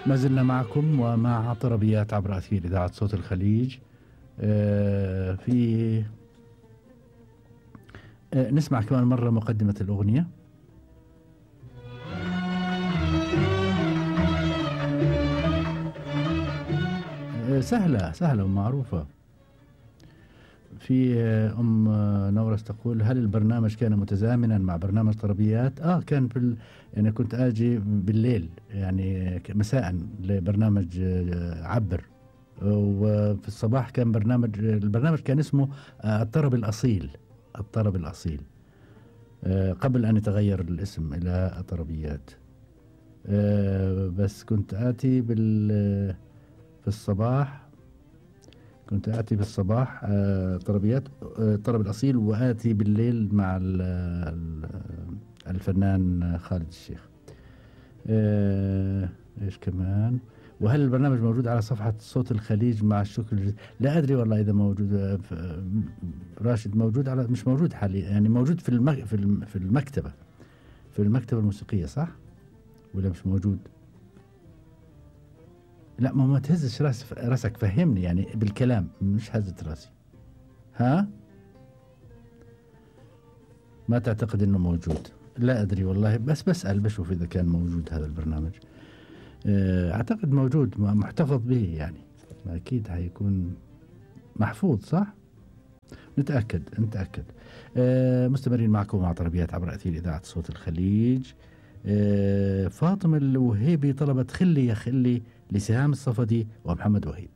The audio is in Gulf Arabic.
ما زلنا معكم ومع طربيات عبر أثير إذاعة صوت الخليج. في نسمع كمان مرة مقدمة الأغنية. سهلة ومعروفة. في أم نورس تقول: هل البرنامج كان متزامنا مع برنامج طربيات؟ كان يعني كنت آجي بالليل، يعني مساء، لبرنامج عبر، وفي الصباح كان البرنامج كان اسمه الطرب الأصيل. الطرب الأصيل قبل أن يتغير الاسم إلى الطربيات. بس كنت آتي في الصباح، كنت آتي بالصباح طربيات، الطرب الأصيل، وآتي بالليل مع الفنان خالد الشيخ. إيش كمان؟ وهل البرنامج موجود على صفحة صوت الخليج مع الشكر؟ لا أدري والله إذا موجود. راشد موجود مش موجود حاليا، يعني موجود في المكتبة، في المكتبة الموسيقية، صح؟ ولا مش موجود؟ لا، ما تهزش راسك، فهمني يعني بالكلام، مش هزت راسي. ها؟ ما تعتقد انه موجود؟ لا ادري والله، بس بسأل بشوف اذا كان موجود هذا البرنامج. اعتقد موجود، محتفظ به يعني، اكيد هيكون محفوظ، صح؟ نتأكد. مستمرين معكم مع طربيات عبر أثير إذاعة صوت الخليج. فاطمة الوهيبي طلبت خلي يا خلي لسهام الصفدي ومحمد وهيب.